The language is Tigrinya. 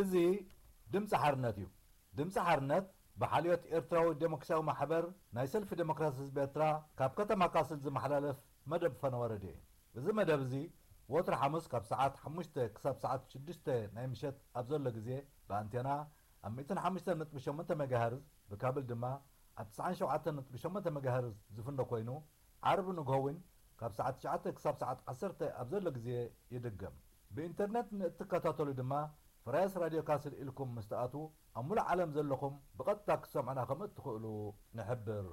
እዚ ድምፂ ሓርነት እዩ። ድምፂ ሓርነት ብሓልዮት ኤርትራዊ ዴሞክራሲያዊ ማሕበር ናይ ሰልፊ ዴሞክራሲ ህዝቢ ኤርትራ ካብ ከተማ ካስል ዝመሓላለፍ መደብ ፈነወረዴ እዩ። እዚ መደብ እዚ ወትሪ ሓሙስ ካብ ሰዓት ሓሙሽተ ክሳብ ሰዓት ሽዱሽተ ናይ ምሸት ኣብ ዘሎ ግዜ ብኣንቴና ኣብ ሚእትን ሓሙሽተን ነጥቢ ሸሞንተ ሜጋሄርዝ፣ ብካብል ድማ ኣብ ትስዓን ሸውዓተን ነጥቢ ሸሞንተ ሜጋሄርዝ ዝፍኖ ኮይኑ፣ ዓርቢ ንግሆ እውን ካብ ሰዓት ትሽዓተ ክሳብ ሰዓት ዓሰርተ ኣብ ዘሎ ግዜ ይድገም። ብኢንተርነት ንእትከታተሉ ድማ ፍራያስ ራድዮ ካስል ኢልኩም ምስ ትኣትዉ ኣብ ሙሉእ ዓለም ዘለኹም ብቐጥታ ክትሰምዑና ከም እትኽእሉ ንሕብር።